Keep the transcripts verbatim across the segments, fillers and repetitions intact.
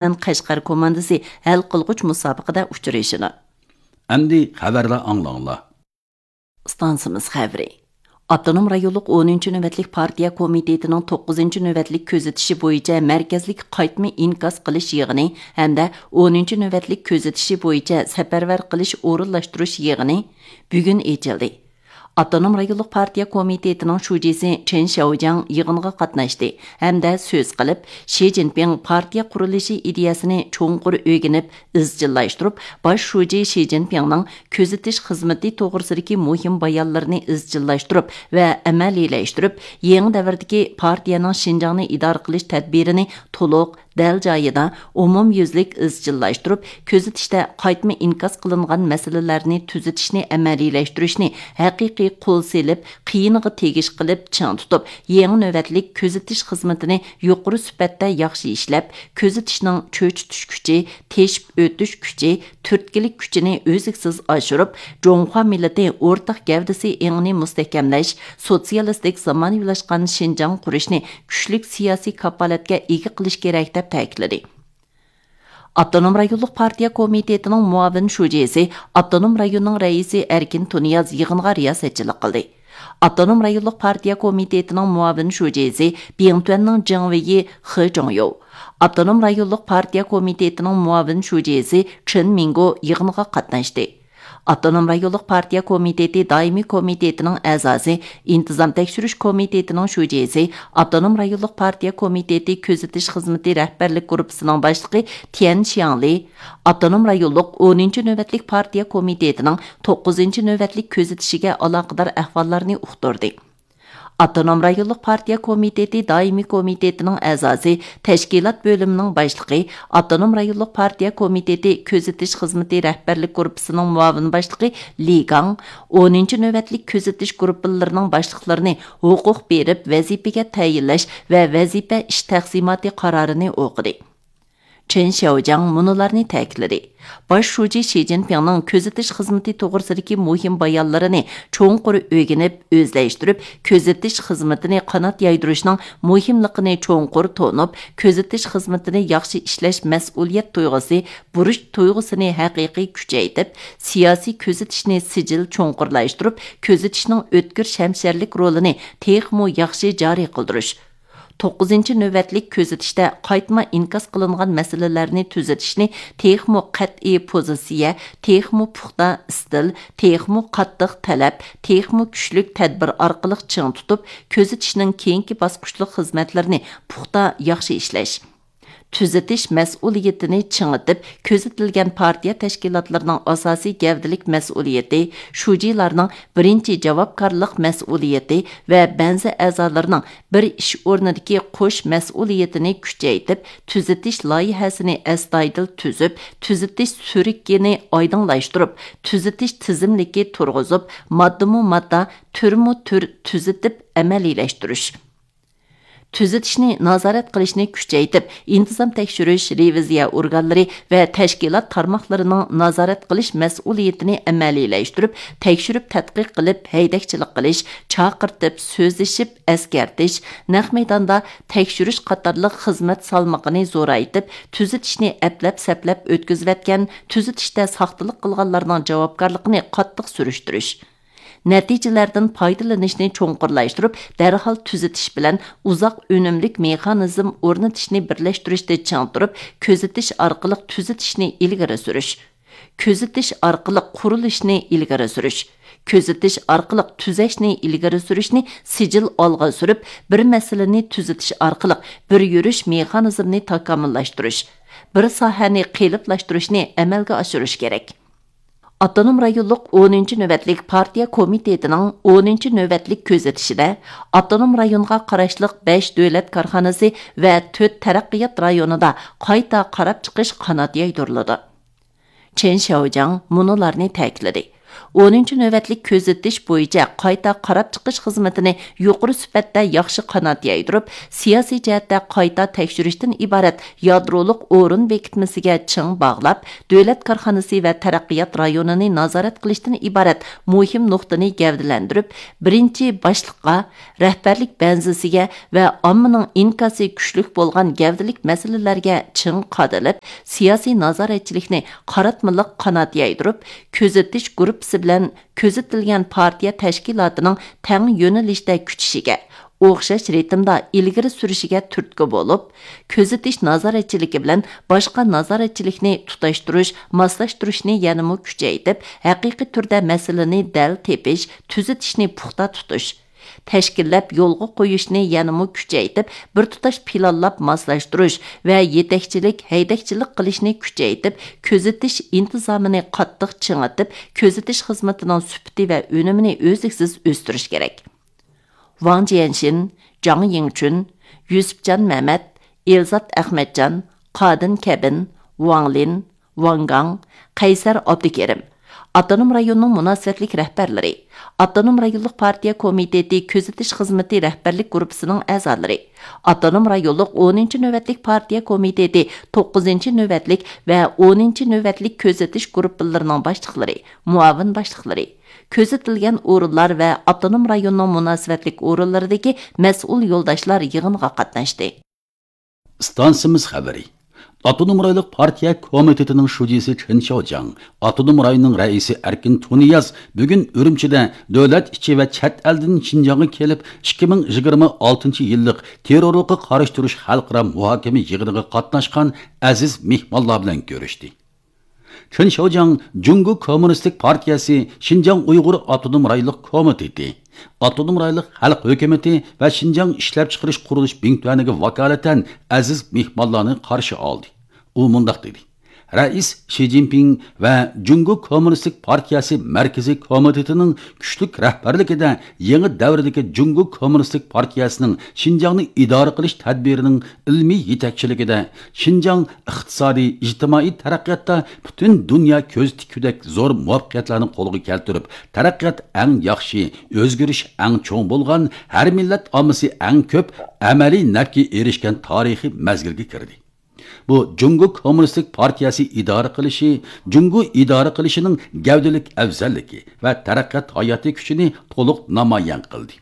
بىلەن قەشقەر كوماندىسى ھەل قىلغۇچ مۇسابىقىدە ئۇچرىشىدۇ. ئەمدى خەۋەرلەر ئاڭلاڭلار. ئىستانسىمىز خەۋىرى. ئاپتونوم رايونلۇق ئونىنچى نۆۋەتلىك پارتىيە كومىتېتىنىڭ توققۇزىنچى نۆۋەتلىك كۆزىتىشى بويىچە مەركەزلىك قايتما ئىنكاس قىلىش يىغىنى ھەمدە ئونىنچى نۆۋەتلىك كۆزىتىشى بويىچە سەپەرۋەر قىلىش ئورۇنلاشتۇرۇش يىغىنى بۈگۈن ئېچىلدى. ئاپتونوم رايونلۇق پارتىيە كومىتېتىنىڭ شۇجىسى چېن شياۋجياڭ يىغىنغا قاتناشتى ھەمدە سۆز قىلىپ، شى جىنپىڭ پارتىيە قۇرۇلۇشى ئىدىيەسىنى چوڭقۇر ئۆگىنىپ، ئىزچىللاشتۇرۇپ، باش شۇجى شى جىنپىڭنىڭ كۆزىتىش خىزمىتى توغرىسىدىكى مۇھىم بايانلىرىنى ئىزچىللاشتۇرۇپ ۋە ئەمەلىيلەشتۈرۈپ، يېڭى دەۋردىكى پارتىيەنىڭ شىنجاڭنى ئىدارە قىلىش تەدبىرىنى تولۇق، دەل جايىدا، ئومۇميۈزلۈك ئىزچىللاشتۇرۇپ، كۆزىتىشتە قايتما ئىنكاس قىلىنغان مەسىلىلەرنى تۈزىتىشنى ئەمەلىيلەشتۈرۈشنى ھەقىقىي قول سېلىپ، قىيىنىغا تېگىش قىلىپ چىڭ تۇتۇپ، يېڭى نۆۋەتلىك كۆزىتىش خىزمىتىنى يۇقىرى سۈپەتتە ياخشى ئىشلەپ، كۆزىتىشنىڭ چۆچۈتۈش كۈچى، تېشىپ ئۆتۈش كۈچى، تۈرتكىلىك كۈچىنى ئۈزلۈكسىز ئاشۇرۇپ، جۇڭخۇا مىللىتى ئورتاق گەۋدىسى ئېڭىنى مۇستەھكەملەش، سوتسىيالىستىك زامانىۋىلاشقان شىنجاڭ قۇرۇشنى كۈچلۈك سىياسىي كاپالەتكە ئىگە قىلىش كېرەك، دەپ تەكىتلىدى. ئاپتونوم رايونلۇق پارتىيە كومىتېتىنىڭ مۇئاۋىن شۇجىسى، ئاپتونوم رايوننىڭ رەئىسى ئەركىن تۇنىياز يىغىنغا رىياسەتچىلىك قىلدى. ئاپتونوم رايونلۇق پارتىيە كومىتېتىنىڭ مۇئاۋىن شۇجىسى، بىڭتۈەننىڭ جېڭ ۋېيى خې جۇڭيو، ئاپتونوم رايونلۇق پارتىيە كومىتېتىنىڭ مۇئاۋىن شۇجىسى چېن مىڭگو يىغىنغا قاتناشتى. ئاپتونوم رايونلۇق پارتىيە كومىتېتى دائىمىي كومىتېتىنىڭ ئەزاسى، ئىنتىزام تەكشۈرۈش كومىتېتىنىڭ شۇجىسى، ئاپتونوم رايونلۇق پارتىيە كومىتېتى كۆزىتىش خىزمىتى رەھبەرلىك گۇرۇپپىسىنىڭ باشلىقى تيەن شياڭلى، ئاپتونوم رايونلۇق ئونىنچى نۆۋەتلىك پارتىيە كومىتېتىنىڭ توققۇزىنچى نۆۋەتلىك كۆزىتىشىگە ئالاقىدار ئەھۋاللارنى ئۇقتۇردى. ئاپتونوم رايونلۇق پارتىيە كومىتېتى دائىمىي كومىتېتىنىڭ ئەزاسى، تەشكىلات بۆلۈمىنىڭ باشلىقى، ئاپتونوم رايونلۇق پارتىيە كومىتېتى كۆزىتىش خىزمىتى رەھبەرلىك گۇرۇپپىسىنىڭ مۇئاۋىن باشلىقى لى گاڭ ئونىنچى نۆۋەتلىك كۆزىتىش گۇرۇپپىلىرىنىڭ باشلىقلىرىنى ھوقۇق بېرىپ ۋەزىپىگە تەيىنلەش ۋە ۋەزىپە ئىش تەقسىماتى قارارىنى ئوقۇدى. چېن شياۋجياڭ مۇنۇلارنى تەكىتلىدى: باش شۇجى شى جىنپىڭنىڭ كۆزىتىش خىزمىتى توغرىسىدىكى مۇھىم بايانلىرىنى چوڭقۇر ئۆگىنىپ، ئۆزلەشتۈرۈپ، كۆزىتىش خىزمىتىنى قانات يايدۇرۇشنىڭ مۇھىملىقىنى چوڭقۇر تونۇپ، كۆزىتىش خىزمىتىنى ياخشى ئىشلەش مەسئۇلىيەت تۇيغۇسى، بۇرچ تۇيغۇسىنى ھەقىقىي كۈچەيتىپ، سىياسىي كۆزىتىشنى سىجىل چوڭقۇرلاشتۇرۇپ، كۆزىتىشنىڭ ئۆتكۈر شەمشەرلىك رولىنى تېخىمۇ ياخشى جارى قىلدۇرۇش، توققۇزىنچى نۆۋەتلىك كۆزىتىشتە قايتما ئىنكاس قىلىنغان مەسىلىلەرنى تۈزىتىشنى تېخىمۇ قەتئىي پوزىتسىيە، تېخىمۇ پۇختا ئىستىل، تېخىمۇ قاتتىق تەلەپ، تېخىمۇ كۈچلۈك تەدبىر ئارقىلىق چىڭ تۇتۇپ، كۆزىتىشنىڭ كېيىنكى باسقۇچلۇق خىزمەتلىرىنى پۇختا ياخشى ئىشلەش. تۈزىتىش مەسئۇلىيىتىنى چىڭىتىپ، كۆزىتىلگەن پارتىيە تەشكىلاتلىرىنىڭ ئاساسىي گەۋدىلىك مەسئۇلىيىتى، شۇجىلارنىڭ بىرىنچى جاۋابكارلىق مەسئۇلىيىتى ۋە بەنزى ئەزالىرىنىڭ بىر ئىش ئورنىدىكى قوش مەسئۇلىيىتىنى كۈچەيتىپ، تۈزىتىش لايىھەسىنى ئەستايىدىل تۈزۈپ، تۈزىتىش سۈرۈكىنى ئايدىڭلاشتۇرۇپ، تۈزىتىش تىزىملىكى تۇرغۇزۇپ، ماددىمۇ ماددا، تۈرمۇ تۈر تۈزىتىپ ئەمەلىيلەشتۈرۈش. تۈزىتىشنى نازارەت قىلىشنى كۈچەيتىپ، ئىنتىزام تەكشۈرۈش، رېۋىزىيە ئورگانلىرى ۋە تەشكىلات تارماقلىرىنىڭ نازارەت قىلىش مەسئۇلىيىتىنى ئەمەلىيلەشتۈرۈپ، تەكشۈرۈپ تەتقىق قىلىپ، ھەيدەكچىلىك قىلىش، چاقىرتىپ سۆزلىشىپ ئەسكەرتىش، نەق مەيداندا تەكشۈرۈش قاتارلىق خىزمەت سالمىقىنى زورايتىپ، تۈزىتىشنى ئەپلەپ-سەپلەپ ئۆتكۈزۈۋەتكەن، تۈزىتىشتە ساختىلىق قىلغانلارنىڭ جاۋابكارلىقىنى قاتتىق سۈرۈشتۈرۈش. نەتىجىلەردىن پايدىلىنىشنى چوڭقۇرلاشتۇرۇپ، دەرھال تۈزىتىش بىلەن ئۇزاق ئۈنۈملۈك مېخانىزم ئورنىتىشنى بىرلەشتۈرۈشتە چىڭ تۇرۇپ، كۆزىتىش ئارقىلىق تۈزىتىشنى ئىلگىرى سۈرۈش، كۆزىتىش ئارقىلىق قۇرۇلۇشنى ئىلگىرى سۈرۈش، كۆزىتىش ئارقىلىق تۈزەشنى ئىلگىرى سۈرۈشنى سىجىل ئالغا سۈرۈپ، بىر مەسىلىنى تۈزىتىش ئارقىلىق بىر يۈرۈش مېخانىزمنى تاكامۇللاشتۇرۇش، بىر ساھەنى قېلىپلاشتۇرۇشنى ئەمەلگە ئاشۇرۇش كېرەك. ئاپتونوم رايونلۇق ئونىنچى نۆۋەتلىك پارتىيە كومىتېتىنىڭ ئونىنچى نۆۋەتلىك كۆزىتىشىدە، ئاپتونوم رايونغا قاراشلىق بەش دۆلەت كارخانىسى ۋە تۆت تەرەققىيات رايونىدا قايتا قاراپ چىقىش قانات يايدۇرۇلىدۇ. چېن شياۋجياڭ مۇنۇلارنى تەكىتلىدى: ئونىنچى نۆۋەتلىك كۆزىتىش بويىچە قايتا قاراپ چىقىش خىزمىتىنى يۇقىرى سۈپەتتە ياخشى قانات يايدۇرۇپ، سىياسىي جەھەتتە قايتا تەكشۈرۈشتىن ئىبارەت يادرولۇق ئورۇن بېكىتمىسىگە چىڭ باغلاپ، دۆلەت كارخانىسى ۋە تەرەققىيات رايونىنى نازارەت قىلىشتىن ئىبارەت مۇھىم نۇقتىنى گەۋدىلەندۈرۈپ، بىرىنچى باشلىققا، رەھبەرلىك بەنزىسىگە ۋە ئاممىنىڭ ئىنكاسى كۈچلۈك بولغان گەۋدىلىك مەسىلىلەرگە چىڭ قادىلىپ، سىياسىي نازارەتچىلىكنى قاراتمىلىق قانات يايدۇرۇپ، كۆزىتىش گۇرۇپپىسى بىلەن كۆزىتىلگەن پارتىيە تەشكىلاتىنىڭ تەڭ يۆنىلىشتە كۈچىشىگە، ئوخشاش رىتىمدا ئىلگىرى سۈرۈشىگە تۈرتكە بولۇپ، كۆزىتىش نازارەتچىلىكى بىلەن باشقا نازارەتچىلىكنى تۇتاشتۇرۇش، ماسلاشتۇرۇشنى يەنىمۇ كۈچەيتىپ، ھەقىقىي تۈردە مەسىلىنى دەل تېپىش، تۈزىتىشنى پۇختا تۇتۇش، تەشكىللەپ يولغا قويۇشنى يەنىمۇ كۈچەيتىپ، بىر تۇتاش پىلانلاپ ماسلاشتۇرۇش ۋە يېتەكچىلىك، ھەيدەكچىلىك قىلىشنى كۈچەيتىپ، كۆزىتىش ئىنتىزامىنى قاتتىق چىڭىتىپ، كۆزىتىش خىزمىتىنىڭ سۈپىتى ۋە ئۈنۈمىنى ئۈزلۈكسىز ئۆستۈرۈش كېرەك. ۋاڭ جيەنشىن، جاڭ يىڭچۈن، يۈسۈپجان مەمەت، ئېلزات ئەخمەتجان، قادىن كەبىن، ۋاڭ لىن، ۋاڭ گاڭ، قەيسەر ئابدۇكېرىم، ئاپتونوم رايوننىڭ مۇناسىۋەتلىك رەھبەرلىرى، ئاپتونوم رايونلۇق پارتىيە كومىتېتى كۆزىتىش خىزمىتى رەھبەرلىك گۇرۇپپىسىنىڭ ئەزالىرى، ئاپتونوم رايونلۇق ئونىنچى نۆۋەتلىك پارتىيە كومىتېتى توققۇزىنچى نۆۋەتلىك ۋە ئونىنچى نۆۋەتلىك كۆزىتىش گۇرۇپپىلىرىنىڭ باشلىقلىرى، مۇئاۋىن باشلىقلىرى، كۆزىتىلگەن ئورۇنلار ۋە ئاپتونوم رايوننىڭ مۇناسىۋەتلىك ئورۇنلىرىدىكى مەسئۇل يولداشلار يىغىنغا قاتناشتى. ئىستانسىمىز خەۋىرى. ئاپتونوم رايونلۇق پارتىيە كومىتېتىنىڭ شۇجىسى چېن شياۋجياڭ، ئاپتونوم رايوننىڭ رەئىسى ئەركىن تۇنىياز بۈگۈن ئۈرۈمچىدە دۆلەت ئىچى ۋە چەت ئەلدىن شىنجاڭغا كېلىپ، ئىككى مىڭ يىگىرمە ئالتىنچى يىللىق تېررورلۇققا قارشى تۇرۇش خەلقئارا مۇھاكىمە يىغىنىغا قاتناشقان ئەزىز مېھمانلار بىلەن كۆرۈشتى. چېن شياۋجياڭ جۇڭگو كوممۇنىستىك پارتىيەسى شىنجاڭ ئۇيغۇر ئاپتونوم رايونلۇق كومىتېتى، ئاپتونوم رايونلۇق خەلق ھۆكۈمىتى ۋە شىنجاڭ ئىشلەپچىقىرىش قۇرۇلۇش بىڭتۈەنىگە ۋاكالىتەن ئەزىز مېھمانلارنى قارشى ئالدى. ئۇ مۇنداق دېدى: رەئىس شى جىنپىڭ ۋە جۇڭگو كوممۇنىستىك پارتىيەسى مەركىزىي كومىتېتىنىڭ كۈچلۈك رەھبەرلىكىدە يېڭى دەۋردىكى جۇڭگو كوممۇنىستىك پارتىيەسىنىڭ شىنجاڭنى ئىدارە قىلىش تەدبىرىنىڭ ئىلمىي يېتەكچىلىكىدە شىنجاڭ ئىقتىسادىي، ئىجتىمائىي تەرەققىياتتا پۈتۈن دۇنيا كۆز تىككۈدەك زور مۇۋەپپەقىيەتلەرنى قولغا كەلتۈرۈپ، تەرەققىيات ئەڭ ياخشى، ئۆزگىرىش ئەڭ چوڭ بولغان، ھەر مىللەت ئاممىسى ئەڭ كۆپ ئەمەلىي نەپكە ئېرىشكەن تارىخىي مەزگىلگە كىردى. بۇ جۇڭگو كوممۇنىستىك پارتىيەسى ئىدارە قىلىشى، جۇڭگو ئىدارە قىلىشىنىڭ گەۋدىلىك ئەۋزەللىكى ۋە تەرەققىيات ھاياتىي كۈچىنى تولۇق نامايان قىلدى.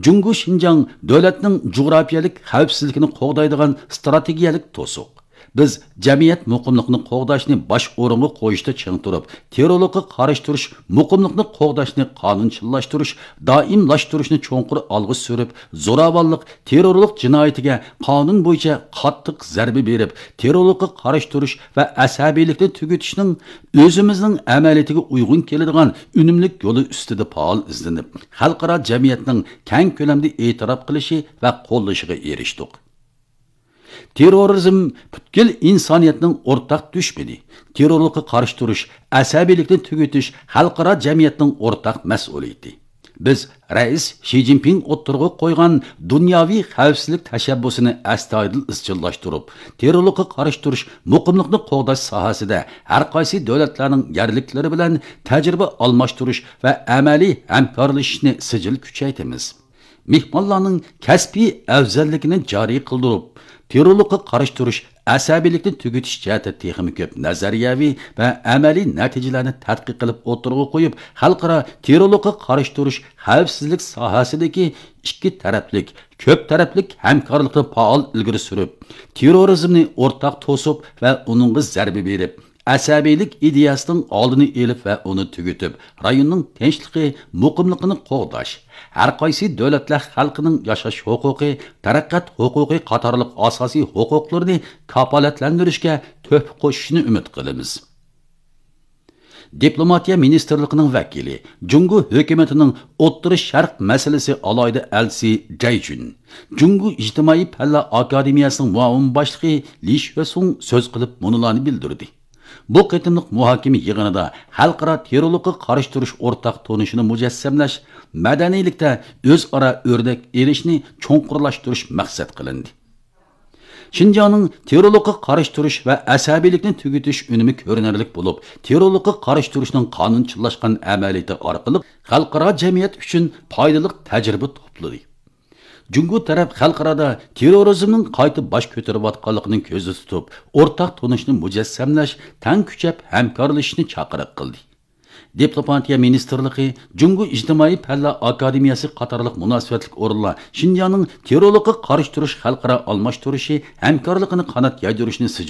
جۇڭگو شىنجاڭ دۆلەتنىڭ جۇغراپىيەلىك خەۋپسىزلىكىنى قوغدايدىغان ئىستراتېگىيەلىك توسۇق. بىز جەمئىيەت مۇقىملىقىنى قوغداشنى باش ئورۇنغا قويۇشتا چىڭ تۇرۇپ، تېررورلۇققا قارشى تۇرۇش، مۇقىملىقنى قوغداشنى قانۇنچىللاشتۇرۇش، دائىملاشتۇرۇشنى چوڭقۇر ئالغا سۈرۈپ، زوراۋانلىق، تېررورلۇق جىنايىتىگە قانۇن بويىچە قاتتىق زەربە بېرىپ، تېررورلۇققا قارشى تۇرۇش ۋە ئەسەبىيلىكنى تۈگىتىشنىڭ ئۆزىمىزنىڭ ئەمەلىيىتىگە ئۇيغۇن كېلىدىغان ئۈنۈملۈك يولى ئۈستىدە پائال ئىزدىنىپ، خەلقئارا جەمئىيەتنىڭ كەڭ كۆلەمدە ئېتىراپ قىلىشى ۋە قوللىشىغا ئېرىشتۇق. تېررورىزم پۈتكۈل ئىنسانىيەتنىڭ ئورتاق دۈشمىنى. تېررورلۇققا قارشى تۇرۇش، ئەسەبىيلىكنى تۈگىتىش خەلقئارا جەمئىيەتنىڭ ئورتاق مەسئۇلىيىتى. بىز رەئىس شى جىنپىڭ ئوتتۇرىغا قويغان دۇنياۋى خەۋپسىزلىك تەشەببۇسىنى ئەستايىدىل ئىزچىللاشتۇرۇپ، تېررورلۇققا قارشى تۇرۇش، مۇقىملىقنى قوغداش ساھەسىدە ھەر قايسى دۆلەتلەرنىڭ يەرلىكلىرى بىلەن تەجرىبە ئالماشتۇرۇش ۋە ئەمەلىي ھەمكارلىشىشنى سىجىل كۈچەيتىمىز. مېھمانلارنىڭ كەسپىي ئەۋزەللىكىنى جارى قىلدۇرۇپ، تېررورلۇققا قارشى تۇرۇش، ئەسەبىيلىكنى تۈگىتىش جەھەتتە تېخىمۇ كۆپ نەزەرىيەۋى ۋە ئەمەلىي نەتىجىلەرنى تەتقىق قىلىپ ئوتتۇرىغا قويۇپ، خەلقئارا تېررورلۇققا قارشى تۇرۇش خەۋپسىزلىك ساھەسىدىكى ئىككى تەرەپلىك، كۆپ تەرەپلىك ھەمكارلىقنى پائال ئىلگىرى سۈرۈپ، تېررورىزمنى ئورتاق توسۇپ ۋە ئۇنىڭغا زەربە بېرىپ، ئەسەبىيلىك ئىدىيەسىنىڭ ئالدىنى ئېلىپ ۋە ئۇنى تۈگىتىپ، رايوننىڭ تىنچلىقى، مۇقىملىقىنى قوغداش، ھەر قايسى دۆلەتلەر خەلقىنىڭ ياشاش ھوقۇقى، تەرەققىيات ھوقۇقى قاتارلىق ئاساسىي ھوقۇقلىرىنى كاپالەتلەندۈرۈشكە تۆھپە قوشۇشىنى ئۈمىد قىلىمىز. دىپلوماتىيە مىنىستىرلىقىنىڭ ۋەكىلى، جۇڭگو ھۆكۈمىتىنىڭ ئوتتۇرا شەرق مەسىلىسى ئالاھىدە ئەلچىسى جەي جۈن، جۇڭگو ئىجتىمائىي پەنلەر ئاكادېمىيەسىنىڭ مۇئاۋىن باشلىقى لى شۆسۇڭ سۆز قىلىپ مۇنۇلارنى بىلدۈردى. بۇ قېتىملىق مۇھاكىمە يىغىنىدا خەلقئارا تېررورلۇققا قارشى تۇرۇش ئورتاق تونۇشىنى مۇجەسسەملەش، مەدەنىيلىكتە ئۆزئارا ئۆرنەك ئېلىشنى چوڭقۇرلاشتۇرۇش مەقسەت قىلىندى. شىنجاڭنىڭ تېررورلۇققا قارشى تۇرۇش ۋە ئەسەبىيلىكنى تۈگىتىش ئۈنۈمى كۆرۈنەرلىك بولۇپ، تېررورلۇققا قارشى تۇرۇشنىڭ قانۇنچىلاشقان ئەمەلىيىتى ئارقىلىق خەلقئارا جەمئىيەت ئۈچۈن پايدىلىق تەجرىبە توپلىدى. جۇڭگو تەرەپ خەلقئارادا تېررورىزمنىڭ قايتا باش كۆتۈرۈۋاتقانلىقىنى كۆزدە تۇتۇپ، ئورتاق تونۇشنى مۇجەسسەملەش، تەڭ كۈچەپ ھەمكارلىشىشنى چاقىرىق قىلدى. دىپلوماتىيە مىنىستىرلىقى، جۇڭگو ئىجتىمائىي پەنلەر ئاكادېمىيەسى قاتارلىق مۇناسىۋەتلىك ئورۇنلار شىنجاڭنىڭ تېررورلۇققا قارشى تۇرۇش خەلقئارا ئالماشتۇرۇشى ھەمكارلىقىنى قانات يايدۇرۇشنى سىجىل